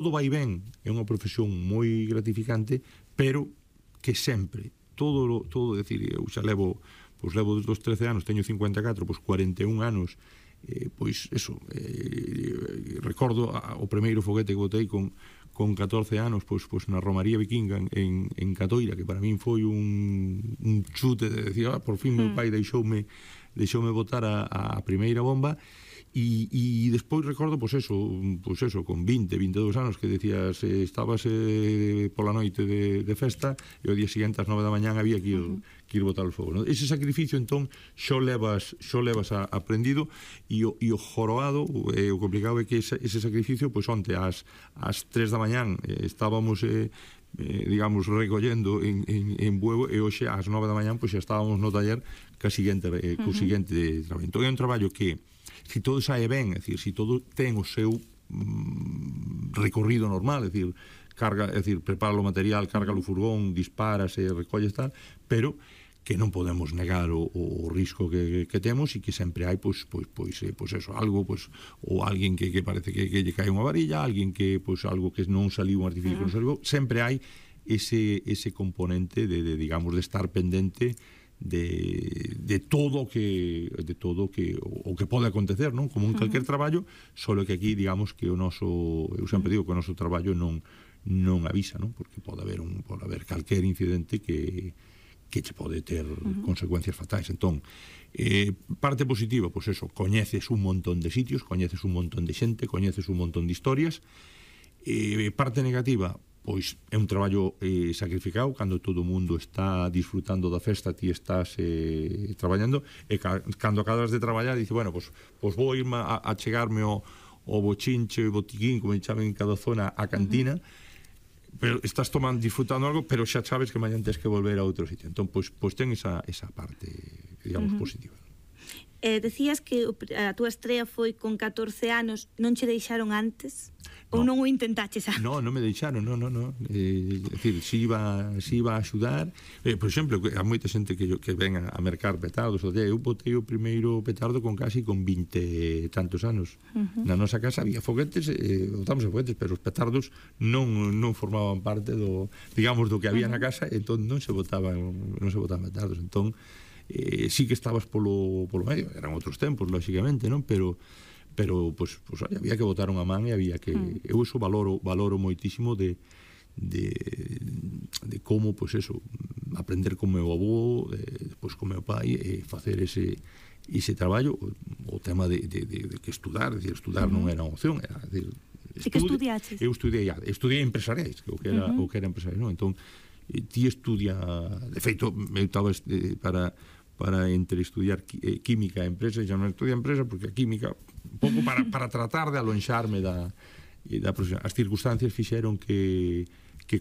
todo vai ben, é unha profesión moi gratificante, pero que sempre, todo, decir, eu xa levo desde os 13 anos, teño 54, pois 41 anos, pois eso, recordo o primeiro foguete que botei con 14 anos, pois na Romaría Vikinga en Catoira, que para min foi un chute de decir, por fin meu pai deixoume botar a primeira bomba. E despois recordo, pois eso, con 20, 22 anos, que decías, estabas pola noite de festa e o día seguinte ás 9 da mañán había que ir botar o fogo, non? Ese sacrificio, entón, xo levas aprendido, e o joroado, o complicado é que ese sacrificio, pois onte ás 3 da mañán estábamos digamos, recollendo en Bueu, e hoxe ás 9 da mañán pois xa estábamos no taller co seguinte traballo. Entón é un traballo que, se todo sae ben, é dicir, se todo ten o seu recorrido normal, é dicir, prepara o material, carga o furgón, disparase, recolles tal, pero que non podemos negar o risco que temos, e que sempre hai pois eso, algo, pois, ou alguén que parece que lle cae unha varilla, alguén que, pois, algo que non saliu, un artificio que non saliu, sempre hai ese componente de digamos, de estar pendente de todo o que pode acontecer, non? Como en calquer traballo, solo que aquí, digamos, que o noso, eu sempre digo que o noso traballo non avisa, non? Porque pode haber calquer incidente que che pode ter consecuencias fatais. Entón, parte positiva, pois eso, coñeces un montón de sitios, coñeces un montón de xente, coñeces un montón de historias. Parte negativa, pois é un traballo sacrificado, cando todo o mundo está disfrutando da festa, ti estás traballando, e cando acabas de traballar, dice, bueno, pois vou irme a chegarme o bochinche, o botiquín, como chaman en cada zona, a cantina, pero estás disfrutando algo, pero xa sabes que mañan tens que volver a outro sitio. Entón, pois ten esa parte, digamos, positiva. Decías que a túa estrea foi con 14 anos, non che deixaron antes? Ou non o intentaches antes? Non me deixaron, non. É dicir, si iba a axudar. Por exemplo, há moita xente que ven a mercar petardos. Eu botei o primeiro petardo con 20 e tantos anos. Na nosa casa había foguetes, botamos foguetes, pero os petardos non formaban parte do, digamos, do que había na casa, entón non se botaban petardos. Entón, sí que estabas polo medio, eran outros tempos, lógicamente, non? Pero había que botar unha man, e había que... Eu iso valoro moitísimo de como, pois eso, aprender con meu avó, depois con meu pai, e facer ese traballo. O tema de que estudar, non era unha opción, era, que estudiaches? Eu estudiei empresariais, o que era empresariais, non? Entón, ti estudia, de feito, eu estaba para entre estudiar química e empresa, xa non estudia empresa, porque a química, un pouco para tratar de alonxarme da profesión. As circunstancias fixeron que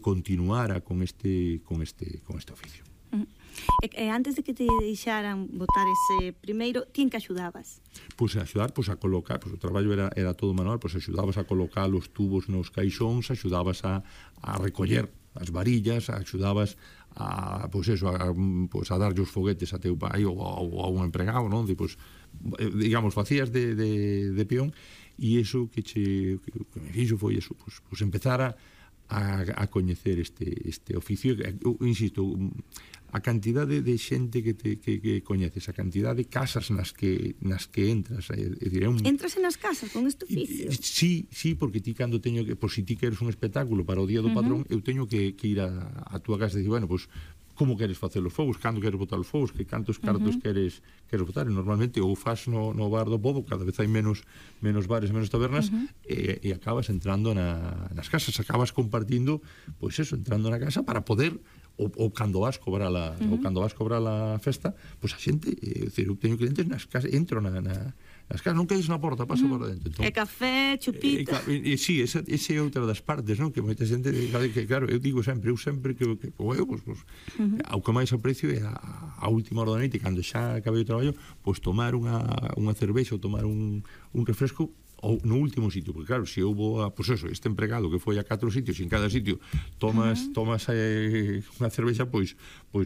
continuara con este oficio. Antes de que te deixaran botar ese primeiro, ti en que axudabas? Pois a axudar, a colocar, o traballo era todo manual, axudabas a colocar os tubos nos caixóns, axudabas a recoller as varillas, axudabas a darlle os foguetes a teu pai ou a un empregado, non? Digamos, facías de peón, e iso que me fixo foi eso, empezar a coñecer este oficio. Insisto, a cantidade de xente que coñeces, a cantidade de casas nas que entras, entras nas casas con este oficio? Sí, porque ti cando teño que, si ti queres un espectáculo para o Día do Patrón, eu teño que ir a túa casa e dicir, bueno, como queres facer os fogos, cando queres botar os fogos, que cantos cartos queres botar, e normalmente ou faz no bar do pobo, cada vez hai menos bares, menos tabernas, e acabas entrando nas casas, acabas compartindo, pois eso, entrando na casa para poder, ou cando vas cobrar a festa, pois a xente, eu teño clientes nas casas, entro nas casas, non quedes na porta, pasa por dentro. E café, chupita. Sí, esa é outra das partes, non? Que moita xente, que claro, eu digo sempre que ao que máis aprecio é a última hora da noite, cando xa acabei o traballo, tomar unha cervexa ou tomar un refresco ou no último sitio, porque claro, se houve pues eso, este empregado que foi a 4 sitios e en cada sitio tomas unha cervexa, pois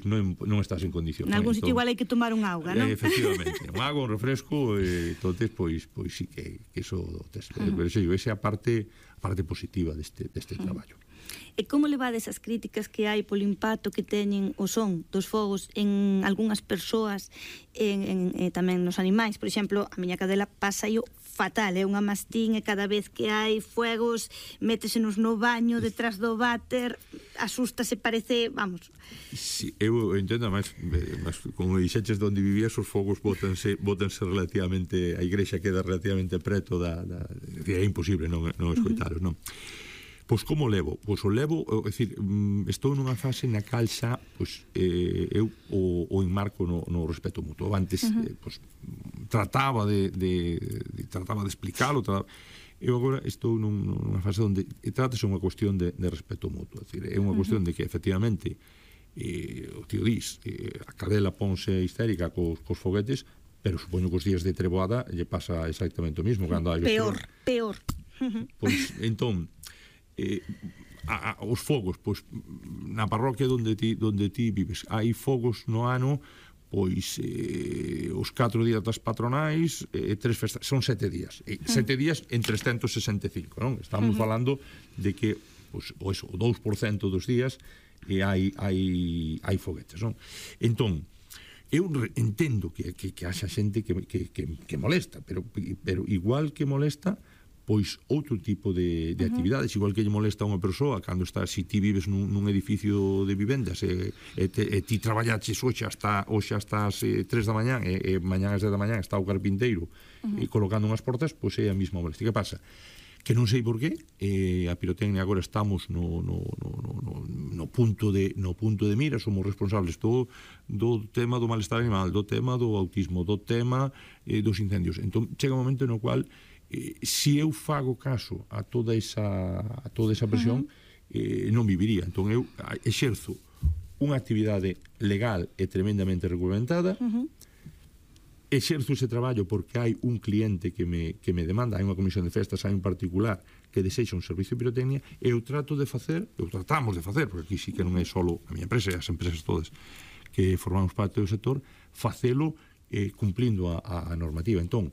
non estás en condición. En algún sitio igual hai que tomar un auga, non? Efectivamente, un auga, un refresco, entonces pois sí que eso pero esa é a parte positiva deste traballo. E como levades as críticas que hai polo impacto que teñen o son dos fogos en algunhas persoas tamén nos animais? Por exemplo, a miña cadela pasa fatal, é unha mastín e cada vez que hai fuegos métesenos no baño detrás do váter, asústase, parece, vamos. Sí, eu entendo, máis como dixeches onde vivías, os fogos botanse relativamente, a igrexa queda relativamente preto é imposible non escoitalos, non? Pois como levo? Pois o levo, é dicir, estou nunha fase na cal xa, pois, eu o enmarco no respeto mutuo. Antes, pois, trataba de explicalo, eu agora estou nunha fase onde trátase unha cuestión de respeto mutuo. É dicir, é unha cuestión de que, efectivamente, o tío dis, a cadela ponse histérica cos foguetes, pero supoño que os días de treboada lle pasa exactamente o mismo. Peor. Pois, entón, os fogos, pois na parroquia onde ti vives hai fogos no ano, pois os 4 días das patronais, 3 festas, son 7 días 7 días en 365, non? Estamos falando de que pois, o 2% dos días hai foguetes, non? Entón, eu entendo que haxa xente que molesta, pero igual que molesta, pois outro tipo de actividades, igual que lle molesta a unha persoa cando está, se ti vives nun edificio de vivendas e ti traballaches hoxe hasta as 3 da mañán e mañán as 10 da mañán está o carpinteiro colocando unhas portas, pois é a mesma molestia. Que pasa? Que non sei por qué a pirotecnia agora estamos no punto de mira, somos responsables do tema do malestar animal, do tema do autismo, do tema dos incendios. Entón chega un momento no cual se eu fago caso a toda esa presión, non viviría. Entón eu exerzo unha actividade legal e tremendamente regulamentada, exerzo ese traballo porque hai un cliente que me demanda, hai unha comisión de festas, hai un particular que desexa un servicio de pirotecnia, e eu tratamos de facer, porque aquí sí que non é só a miña empresa, e as empresas todas que formamos parte do sector, facelo cumplindo a normativa. Entón,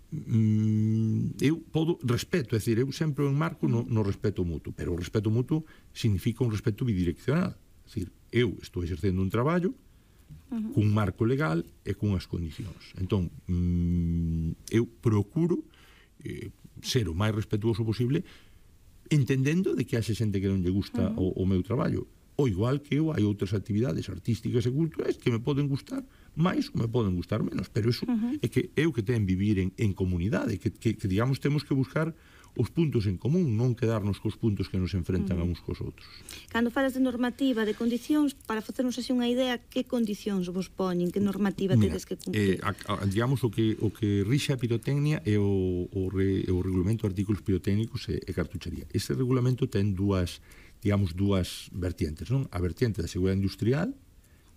eu podo respeto, é dicir, eu sempre o enmarco no respeto mutuo, pero o respeto mutuo significa un respeto bidireccional, é dicir, eu estou exercendo un traballo cun marco legal e cunhas condicións. Entón, eu procuro ser o máis respetuoso posible, entendendo de que haxe xente que non lle gusta o meu traballo. O igual que hai outras actividades artísticas e culturais que me poden gustar máis ou me poden gustar menos, pero iso é que é o que ten vivir en comunidade, que digamos, temos que buscar os puntos en común, non quedarnos cos puntos que nos enfrentan a uns cos outros. Cando falas de normativa, de condicións, para facernos así unha idea, que condicións vos poñen, que normativa tedes que cumplir? Digamos, o que rixe a pirotecnia é o regulamento de artículos pirotécnicos e cartuchería. Ese regulamento ten dúas vertientes, non? A vertiente da seguridade industrial,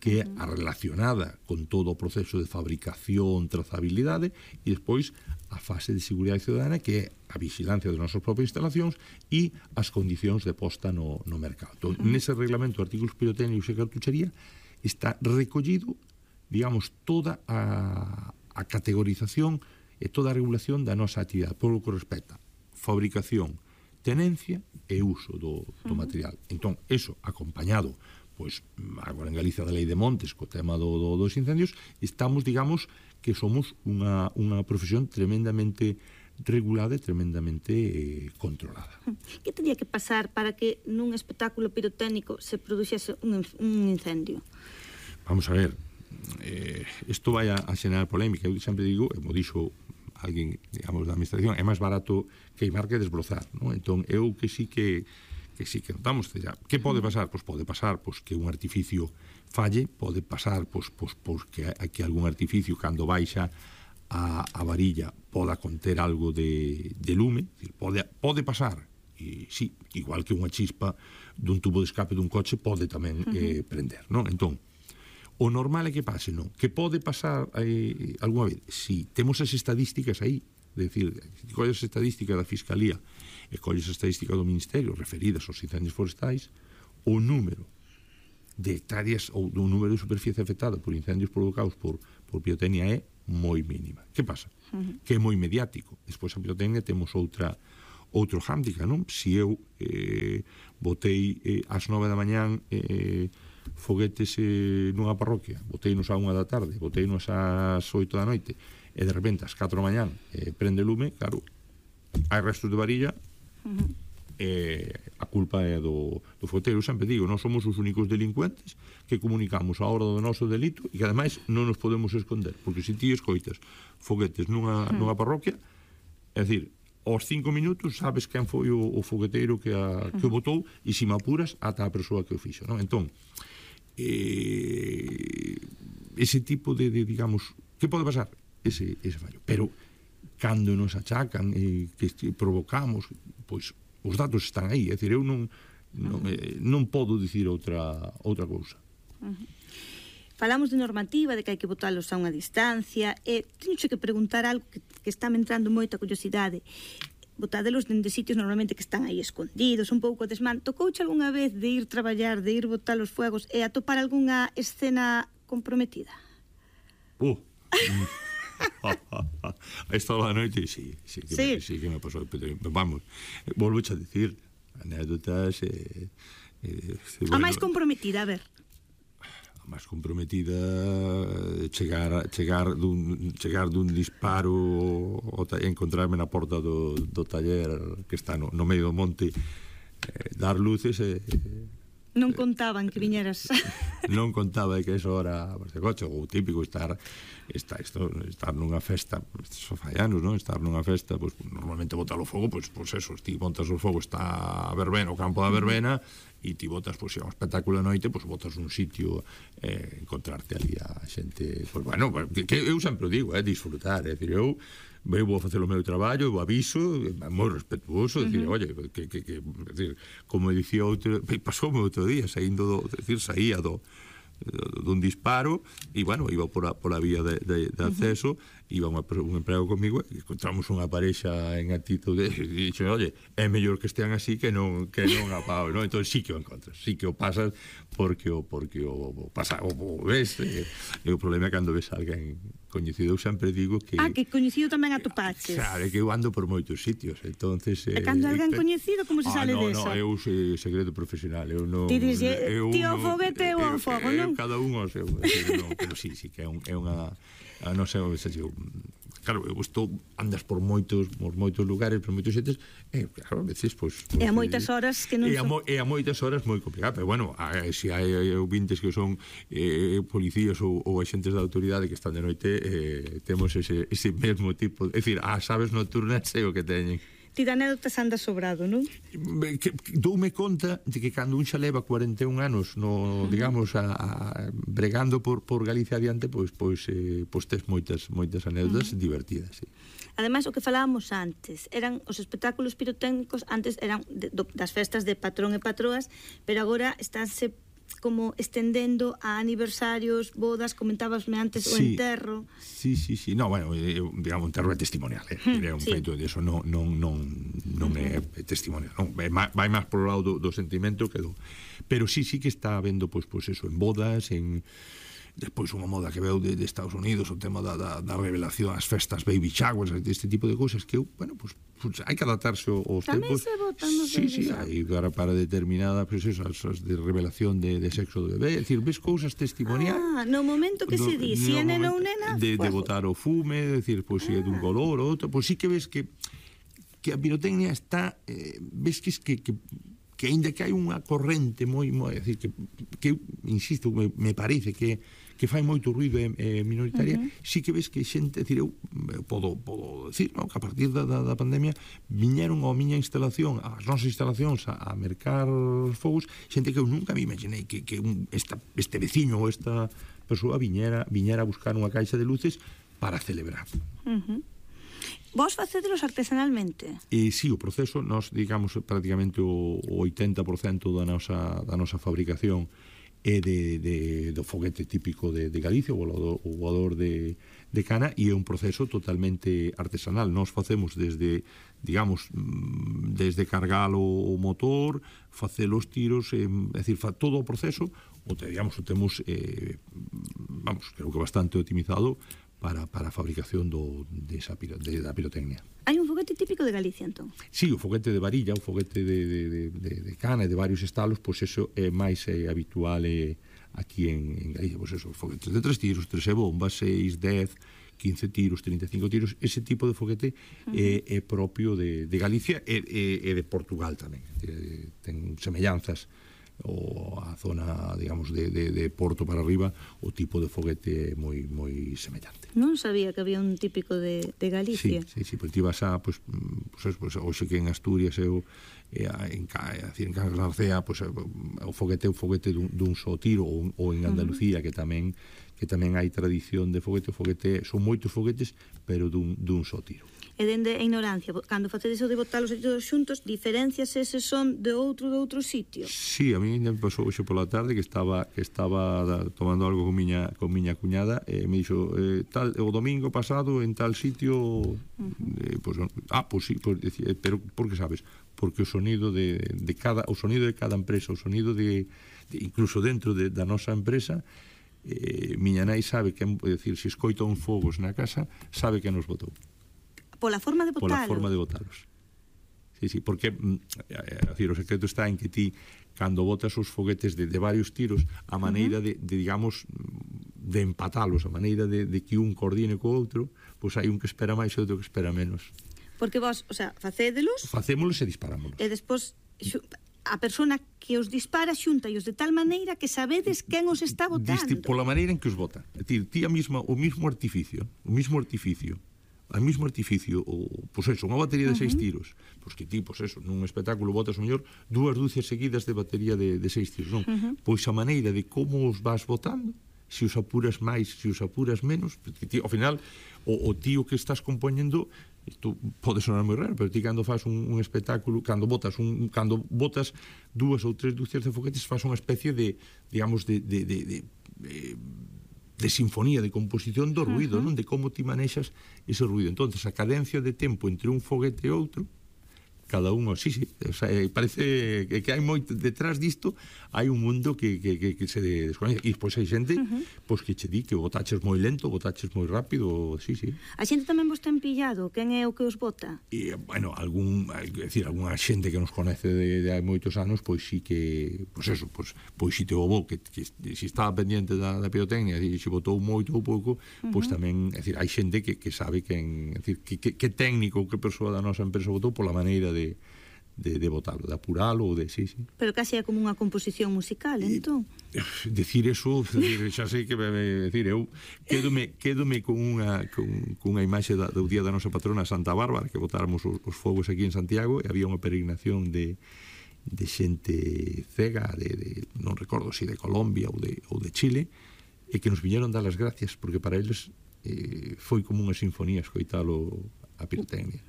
que é a relacionada con todo o proceso de fabricación, trazabilidade, e despois a fase de seguridade ciudadana, que é a vigilancia das nosas propias instalacións e as condicións de posta no mercado. Entón, nese reglamento de artículos pirotécnicos e cartuchería está recollido, digamos, toda a categorización e toda a regulación da nosa actividade, por lo que respecta fabricación, tenencia e uso do material. Entón, eso acompañado, pois, agora en Galicia da Lei de Montes, co tema dos incendios, estamos, digamos, que somos unha profesión tremendamente regulada e tremendamente controlada. Que teria que pasar para que nun espectáculo pirotécnico se produxese un incendio? Vamos a ver, isto vai a xenerar polémica. Eu sempre digo, e mo dixo alguén, digamos, da administración, é máis barato queimar que desbrozar, non? Entón, eu que sí que notamos, que pode pasar? Pois pode pasar que un artificio falle, pode pasar que algún artificio, cando baixa a varilla, poda conter algo de lume, pode pasar, e sí, igual que unha chispa dun tubo de escape dun coche pode tamén prender, non? Entón, o normal é que pase, non? Que pode pasar algunha vez? Si, temos as estadísticas aí, decir, colles estadística da Fiscalía e colles estadística do Ministerio referidas aos incendios forestais, o número de hectáreas ou do número de superficie afectada por incendios provocados por pirotecnia é moi mínima. Que pasa? Que é moi mediático. Despois a pirotecnia temos outro hándicap, non? Se eu botei ás 9 da mañán foguetes nunha parroquia, boteinos á 1 da tarde, boteinos ás 8 da noite, e de repente ás 4 da mañán prende lume, claro, hai restos de varilla, a culpa é do fogueteiro. Eu sempre digo, non somos os únicos delincuentes que comunicamos a hora do noso delito e que ademais non nos podemos esconder, porque se ti escoitas foguetes nunha parroquia, é dicir, aos 5 minutos sabes quen foi o fogueteiro que o botou, e se me apuras ata a persoa que o fixo, non? Entón, ese tipo de digamos, que pode pasar? Ese fallo, pero cando nos achacan que provocamos, pois os datos están aí, é dicir, eu non podo dicir outra cousa. Falamos de normativa, de que hai que botalos a unha distancia, e teño que preguntar algo que está me entrando moita curiosidade. Botádelos dende sitios normalmente que están aí escondidos, un pouco desman. Tocouche algunha vez de ir traballar, de ir botar os fuegos e atopar algunha escena comprometida? A esta hora da noite, sí que me pasou. Vamos, volvo a dicir, anécdotas... A máis comprometida, a ver. A máis comprometida, chegar dun disparo e encontrarme na porta do taller que está no medio do monte, dar luces e... Non contaban que viñeras. Non contaba que eso era de coche, ou típico estar nunha festa, só fai anos, non? Estar nunha festa, pues, normalmente botar o fogo, pues eso, ti botas o fogo, está a verbena, o campo da verbena, e ti botas, pues, un espectáculo de noite, pues botas un sitio, encontrarte ali a xente, pues bueno, que eu sempre digo, disfrutar, é dicir, eu vou a facer o meu traballo, eu aviso, moi respetuoso, dicir, oye, decir, como dicía outro, pasoume outro día, saía dun disparo, e, bueno, iba por a vía de acceso, iba un emprego comigo, e encontramos unha parexa en actitude, e dixo, oye, é mellor que estean así que non a pau, non? Entón, sí que o encontras, sí que o pasas, porque o pasa, o ves, e o problema é cando ves alguén coñecido. Eu sempre digo que... que coñecido tamén atopaches. Claro, é que eu ando por moitos sitios, entonces... E cando alguén coñecido, como se sale desa? No, eu sei segredo profesional, eu non... Ti dixe, tío foguete ou fogo, non? Cada un o seu, pero sí, que é unha... Non sei, claro, eu andas por moitos lugares, por moitos xentes, e claro, a veces, pois... E a moitas horas que non son... E a moitas horas moi complicado, pero bueno, se hai ouvintes que son policías ou agentes da autoridade que están de noite, temos ese mesmo tipo, é dicir, as aves nocturnas sei o que teñen. Ti de anécdotas andas sobrado, non? Doume conta de que cando un xa leva 41 anos digamos, bregando por Galicia adiante, pois tes moitas anécdotas divertidas, sí. Ademais, o que falábamos antes, eran os espectáculos pirotécnicos, antes eran das festas de patrón e patroas, pero agora estánse como estendendo a aniversarios, bodas, comentábasme antes o enterro. Sí. No, bueno, digamos, o enterro é testimonial, é un feito de eso, non é testimonial, non, vai máis por o lado do sentimento que do... Pero sí que está habendo, pois eso, en bodas, en... Despois unha moda que veu de Estados Unidos, o tema da revelación, as festas baby showers, este tipo de cousas que, bueno, pues hai que adaptarse aos tempos. Tamén se botan nos Sí, hai para determinada, pues eso, as de revelación de sexo do bebé, é dicir, ves cousas testimoniais. No momento que se di, si é nena ou nena, de botar o fume, é dicir, pues se é dun color ou outro, pues sí que ves que a pirotecnia está, ves que aínda que hai unha corrente moi, é dicir, que insisto, me parece que fai moito ruido minoritaria, sí que ves que xente, é dicir, eu podo decir, non, que a partir da pandemia viñeron a miña instalación, as nosas instalacións a mercar fogos, xente que eu nunca me imaginei que este veciño ou esta persoa viñera a buscar unha caixa de luces para celebrar. Vos facedelos artesanalmente? Sí, o proceso, nós, digamos, prácticamente o 80% da nosa fabricación do foguete típico de Galicia, o voador de cana, e é un proceso totalmente artesanal. Nós facemos desde, digamos, desde cargar o motor, facer os tiros, é dicir, todo o proceso, digamos, o temos, vamos, creo que bastante optimizado para a fabricación da pirotecnia. Hai un foguete típico de Galicia, entón? Sí, o foguete de varilla, o foguete de cana e de varios estalos, pois eso é máis habitual aquí en Galicia, pois eso, foguetes de 3 tiros, 13 bombas, 6, 10, 15 tiros, 35 tiros, ese tipo de foguete é propio de Galicia e de Portugal tamén. Ten semellanzas ou a zona, digamos, de Porto para arriba, o tipo de foguete é moi semellante. Non sabía que había un típico de Galicia. Sí, pois ti vas a, hoxe que en Asturias en Cangas da Narcea, o foguete é un foguete dun só tiro, ou en Andalucía, que tamén hai tradición de foguete, son moitos foguetes, pero dun só tiro. E dende a ignorancia, cando facedes o de botalos todos xuntos, diferencias eses son de outro sitio? Sí, a mí me pasou hoxe pola tarde que estaba tomando algo con miña cuñada e me dixo, o domingo pasado en tal sitio, sí, pero por que sabes? Porque o sonido de cada empresa, o sonido de incluso dentro da nosa empresa, miña nai sabe que, é dicir, se escoita uns fogos na casa, sabe que nos botou. Pola forma de botalos? Pola forma de botalos. Sí, porque o secreto está en que ti, cando botas os foguetes de varios tiros, a maneira de digamos, de empatalos, a maneira de que un coordine co outro, pois hai un que espera máis e outro que espera menos. Porque vos, facédelos? Facémolos e disparámolos. E despois a persona que os dispara xunta-os de tal maneira que sabedes quen os está botando. Pola maneira en que os bota. É dicir, ti o mismo artificio, pois eso, unha batería de 6 tiros, pois que ti, pois eso, nun espectáculo botas o mellor 2 dúcias seguidas de batería de 6 tiros, non? Pois a maneira de como os vas botando, se os apuras máis, se os apuras menos, porque ti, ao final, o tío que estás compoñendo, isto pode sonar moi raro, pero ti cando faz un espectáculo, cando botas 2 ou 3 dúcias de foguetes, faz unha especie de, digamos, de sinfonía, de composición do ruido, non? De como ti manexas ese ruido. Entonces, a cadencia de tempo entre un foguete e outro, cada un, sí, parece que hai moito detrás disto, hai un mundo que se descoñece, e pois hai xente pois que che di que o botaches moi lento, o botaches moi rápido, sí. A xente tamén vos ten pillado, quen é o que os bota? E, bueno, algunha xente que nos conoce de hai moitos anos, pois sí que, pois si te o bo, que si estaba pendiente da pirotecnia, e se botou moito ou pouco, pois tamén, é dicir, hai xente que sabe quen, é dicir, que técnico, que persoa da nosa empresa botou pola maneira de botarlo, de apuralo ou de, sí. Pero casi é como unha composición musical, entón. Decir eso, xa sei que decir, eu quédome con unha imaxe do día da nosa patrona Santa Bárbara, que botáramos os fogos aquí en Santiago, e había unha peregrinación de xente cega, non recordo se de Colombia ou de Chile, e que nos viñeron dar as gracias, porque para eles foi como unha sinfonía escoitalo a pirotecnia.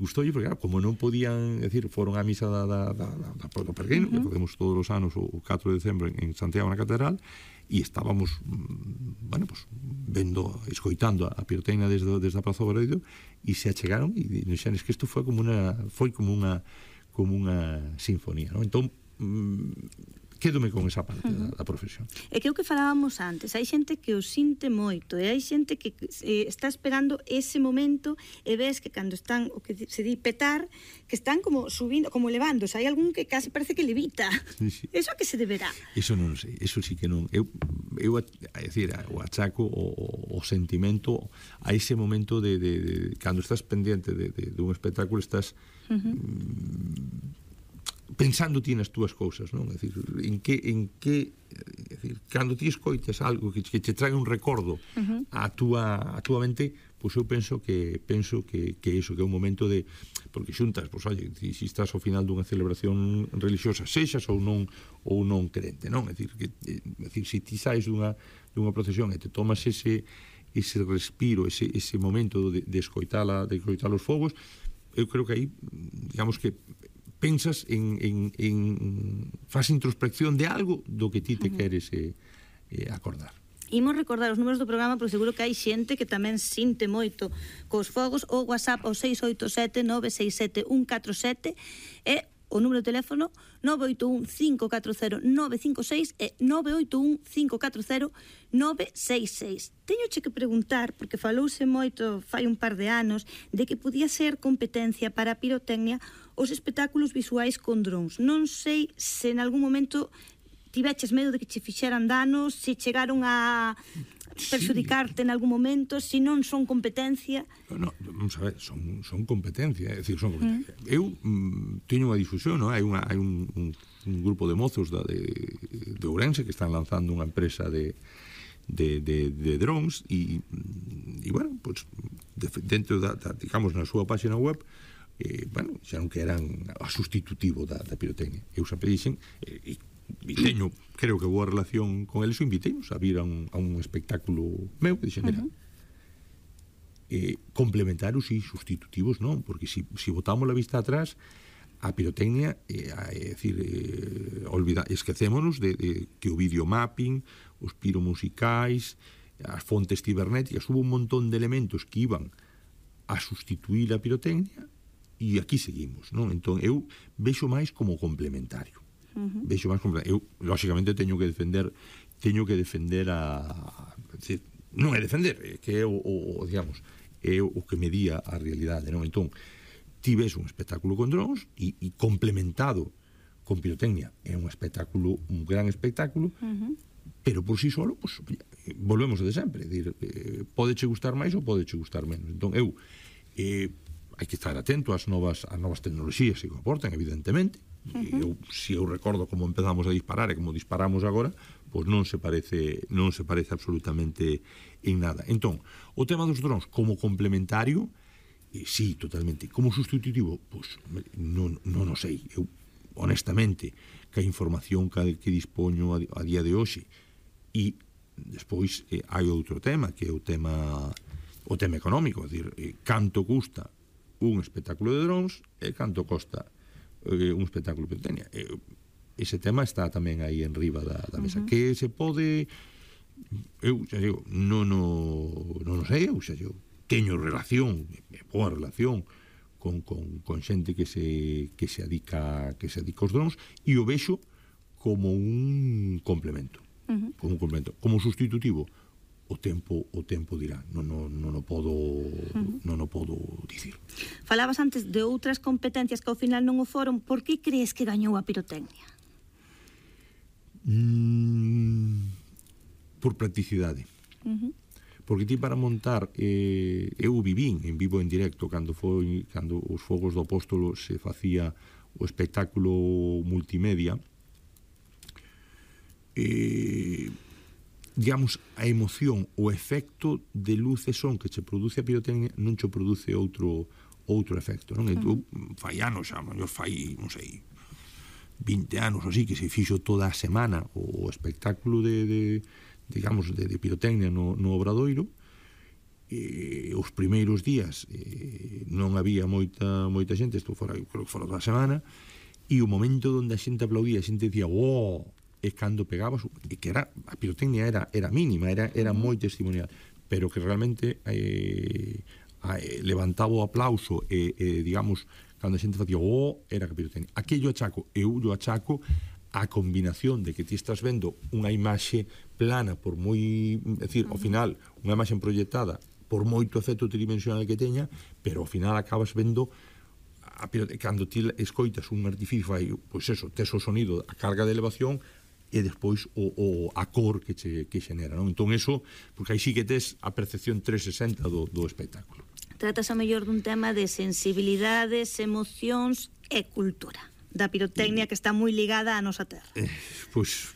Gustoulle porque, claro, como non podían, decir, foron á misa do peregrino, que facemos todos os anos o 4 de decembro en Santiago na Catedral, e estábamos, escoitando a pirotecnia desde a Praza do Obradoiro, e se achegaron e dixeron que isto foi como unha sinfonía, non? Entón, quédome con esa parte da profesión. É que o que falábamos antes, hai xente que o sinte moito, e hai xente que está esperando ese momento, e ves que cando están, o que se di petar, que están como subindo, como levándose, hai algún que casi parece que levita. Sí. Eso a que se deberá? Eso non sei, eso sí que non. Eu o achaco o sentimento a ese momento de cando estás pendiente de un espectáculo, estás pensando ti nas túas cousas, non? É dicir, en que cando ti escoitas algo que te trae un recordo a túa mente, pois eu penso que iso, que é un momento de, porque xuntas, pois oye, se estás ao final dunha celebración religiosa, sexas ou non crente, non? É dicir, se ti saes dunha procesión e te tomas ese respiro, ese momento de escoitar os fogos, eu creo que aí, digamos que pensas faz introspección de algo do que ti te queres acordar. Imos recordar os números do programa, porque seguro que hai xente que tamén sinte moito cos fogos. O WhatsApp ao 687-967-147 e o número de teléfono 981-540-956 e 981-540-966. Teñoche que preguntar, porque falouse moito fai un par de anos, de que podía ser competencia para a pirotecnia os espectáculos visuais con drons. Non sei se en algún momento tiveches medo de que che fixeran danos, se chegaron a perxudicarte en algún momento, se non son competencia. No, vamos a ver, son competencia, é dicir, son competencia. Eu teño unha difusión, non? Hai un grupo de mozos de Ourense que están lanzando unha empresa de drones e bueno, pues, dentro digamos, na súa página web bueno, xa non que eran a sustitutivo da pirotecnia. Eu sempre dixen e teño, creo que boa relación con eles, inviteinos a vir a un espectáculo meu, e dixen, mira, complementarios e sustitutivos non, porque se botamos a vista atrás, a pirotecnia é dicir, esquecémonos de que o videomapping, os piromusicais, as fontes cibernéticas, hubo un montón de elementos que iban a sustituir a pirotecnia e aquí seguimos, non? Entón eu vexo máis como complementario. Vexo máis complementario. Eu, lóxicamente, teño que defender decir, non é defender, que é digamos, é o que medía a realidade, non? Entón, ti ves un espectáculo con drones e complementado con pirotecnia é un espectáculo, un gran espectáculo, pero por si solo, pues, volvemos a de sempre, dir, podeche gustar máis ou podeche gustar menos. Entón, eu hai que estar atento ás novas tecnoloxías que aportan, evidentemente. Se eu recordo como empezamos a disparar e como disparamos agora, pois non se parece absolutamente en nada. Entón, o tema dos drones como complementario, sí, totalmente. Como sustitutivo, pois non o sei. Eu, honestamente, que a información que dispoño a día de hoxe, e despois hai outro tema, que é o tema económico, é dicir, canto custa un espectáculo de drones e canto costa un espectáculo de pirotecnia. Ese tema está tamén aí en riba da mesa. Que se pode, eu xa digo, non o sei, eu xa digo, teño relación, boa relación con xente que se adica aos drones, e o vexo como un complemento. Como sustitutivo, o tempo dirá, non o podo dicir. Falabas antes de outras competencias que ao final non o foron. Por que crees que gañou a pirotecnia? Por practicidade. Porque ti para montar, eu vivín en vivo en directo cando os Fogos do Apóstolo se facía o espectáculo multimedia, digamos, a emoción, o efecto de luz e son que che produce a pirotecnia non che produce outro efecto, non? Fai anos, xa, mellor fai, non sei, 20 anos así, que se fixo toda a semana o espectáculo digamos, de pirotecnia no Obradoiro. Os primeiros días non había moita xente, creo que fora toda a semana, e o momento onde a xente aplaudía, a xente dicía, oh, e cando pegabas, e que a pirotecnia era mínima, era moi testimonial, pero que realmente levantaba o aplauso digamos, cando a xente facía era que a pirotecnia. Aquello eu achaco a combinación de que ti estás vendo unha imaxe plana, por moi, é dicir, ao final, unha imaxe proyectada, por moito efecto tridimensional que teña, pero ao final acabas vendo cando ti escoitas un artificio, pois eso, tes o sonido, a carga de elevación, e despois a cor que xenera, non? Entón eso, porque aí sí que tes a percepción 360 do espectáculo. Tratas a mellor dun tema de sensibilidades, emocións e cultura. da pirotecnia que está moi ligada á nosa terra. Pois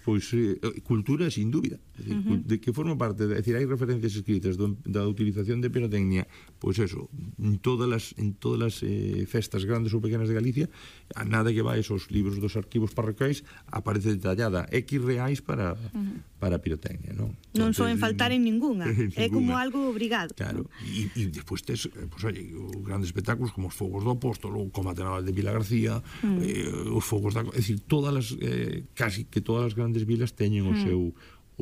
cultura, sin dúbida. De que forma parte, é dicir, hai referencias escritas da utilización de pirotecnia, pois eso, en todas as festas grandes ou pequenas de Galicia, a nada que vai esos libros dos arquivos parroquiais, aparece detallada X reais para pirotecnia, non? Non soen faltar en ninguna, é como algo obrigado. Claro, e despois tes, pois, oye, os grandes espectáculos como os Fogos do Apóstolo, o Combate Naval de Vila García, os Fogos da... É dicir, casi que todas as grandes vilas teñen o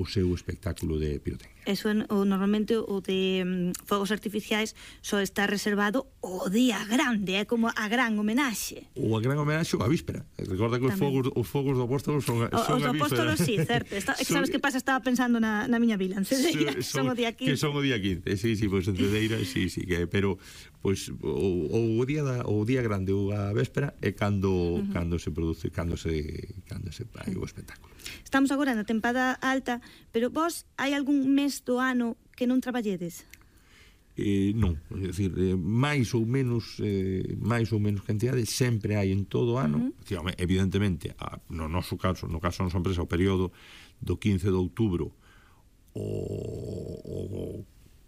seu espectáculo de pirotecnia. Eso normalmente o de fogos artificiais só está reservado o día grande, é como a gran homenaxe. Ou a gran homenaxe ou a víspera. Recorda que os fogos do Apóstolo son a víspera. Os do Apóstolo, sí, certo. Sabes que pasa? Estaba pensando na miña vila, en Cedeira, son o día 15. Que son o día 15, sí, pois en Cedeira, sí, que pero pois o día grande ou a véspera é cando se produce, cando se fai o espectáculo. Estamos agora na tempada alta, pero vos hai algún mes do ano que non traballedes? Non, é dicir, máis ou menos cantidade sempre hai en todo o ano. Evidentemente, no noso caso, no caso da nosa empresa, o período do 15 de outubro o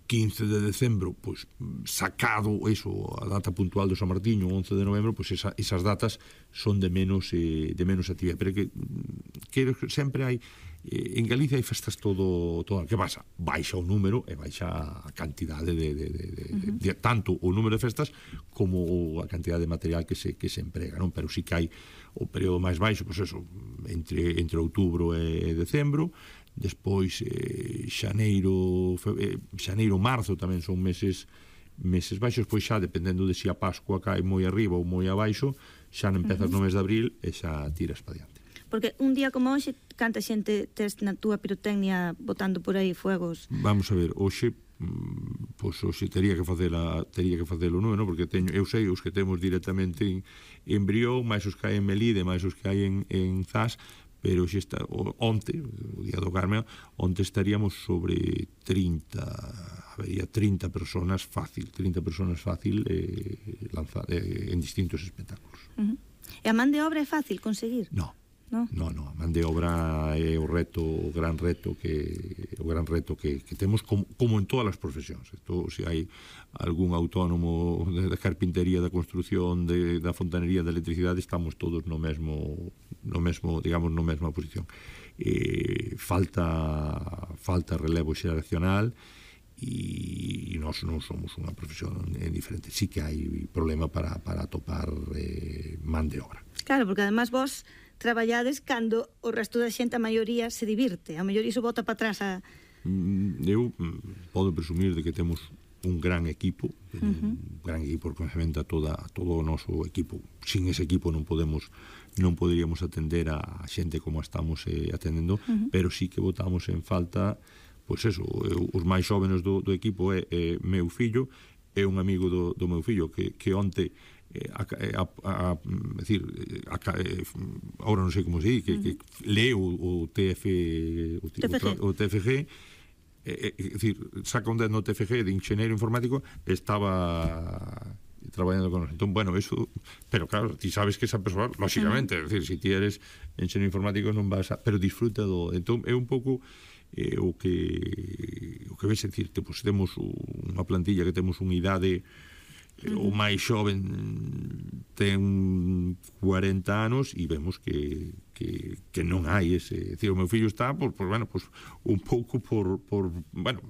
15 de decembro, pois sacado eso, a data puntual do San Martiño, 11 de novembro, pois esas datas son de menos actividade, pero que sempre hai en Galicia hai festas todo. Que pasa? Baixa o número e baixa a cantidade de tanto o número de festas como a cantidade de material que se emprega, non? Pero sí que hai o período máis baixo, pois eso, entre outubro e decembro. Despois xaneiro, marzo tamén son meses baixos, pois xa dependendo de se a Pascua cae moi arriba ou moi abaixo, xa non empezas no mes de abril e xa tiras para diante. Porque un día como hoxe, canta xente tes na túa pirotecnia botando por aí fuegos? Vamos a ver, hoxe tería que facelo non, porque eu sei os que temos directamente en Brión, máis os que hai en Melide, máis os que hai en Zas, pero xe está, onte, o día do Carme, onte estaríamos sobre 30, habería 30 personas fácil en distintos espectáculos. E a man de obra é fácil conseguir? Non, a man de obra é o gran reto que temos como en todas as profesións. Se hai algún autónomo da carpintería, da construción, da fontanería, da electricidade, estamos todos no mesmo, digamos, no mesma posición. Falta relevo xeracional e nós non somos unha profesión diferente. Sí que hai problema para atopar man de obra. Claro, porque además vos traballades cando o resto da xente, a maioría, se divirte. A maioría iso bota para atrás Eu podo presumir de que temos un gran equipo, reconocemento a todo o noso equipo. Sin ese equipo non poderíamos atender a xente como estamos atendendo, pero sí que botamos en falta, pois eso, os máis xóvenes do equipo é meu fillo, é un amigo do meu fillo que onte ahora non sei como se di, que leu o TFG, é dicir, saca un 10 no TFG de ingeniero informático, estaba traballando con nosotros. Entón, bueno, eso, pero claro, ti sabes que esa persoa, lógicamente, é dicir, se ti eres ingeniero informático non vas a, pero disfruta do, entón é un pouco o que ves, é dicir, pues, temos unha plantilla que temos unha idade, o máis xoven ten 40 anos e vemos que non hai ese, decir, o meu fillo está un pouco por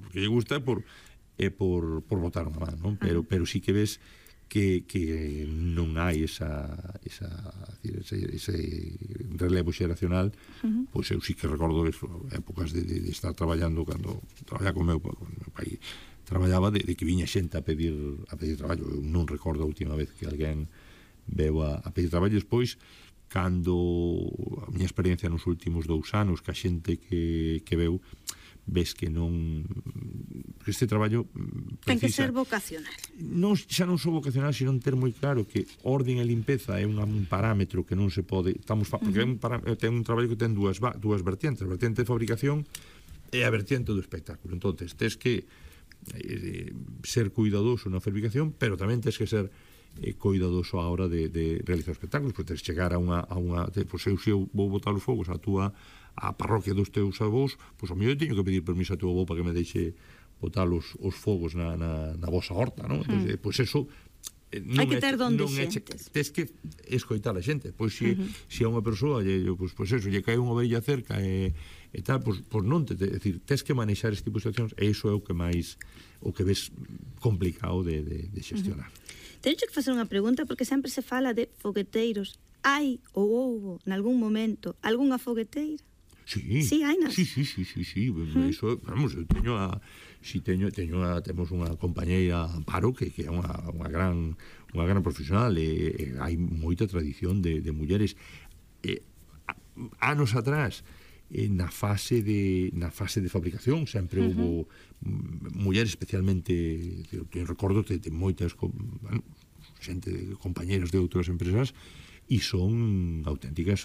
que lle gusta por botar unha man, non? Pero sí que ves que non hai ese relevo xeracional. Pois eu sí que recordo épocas de estar traballando, cando traballaba con meu pai, traballaba de que viña xente a pedir traballo. Eu non recordo a última vez que alguén veu a pedir traballo. Despois, cando a miña experiencia nos últimos 2 anos, que a xente que veu, ves que non, este traballo ten que ser vocacional. Xa non só vocacional, sino ter moi claro que orden e limpeza é un parámetro que non se pode, porque ten un traballo que ten dúas vertientes, a vertiente de fabricación e a vertiente do espectáculo. Entonces, tes que ser cuidadoso na fabricación, pero tamén tes que ser coidadoso a hora de realizar espectáculos, porque tens chegar a unha pois se eu vou botar os fogos a parroquia dos teus avós, pois ao mellor teño que pedir permiso a teu avó para que me deixe botar os fogos na vosa horta, non? Entón, pois eso hai que ter donde xentes. Tens que escoitar a xente. Pois se a unha persoa pois eso, lle cae unha ovelha cerca e tal, pois non decir, tens que manexar este tipo de situacións, e iso é o que ves complicado de xestionar. Teño que facer unha pregunta, porque sempre se fala de fogueteiros. Hai ou houbo, nalgún momento, algunha fogueteira? Sí, hainas. Sí. Eso, vamos, eu temos unha compañeira Amparo que é unha gran profesional, e hai moita tradición de mulleres. Anos atrás, na fase de fabricación sempre houve mulleres, especialmente, recordo de moitas xente, compañeros de outras empresas, e son auténticas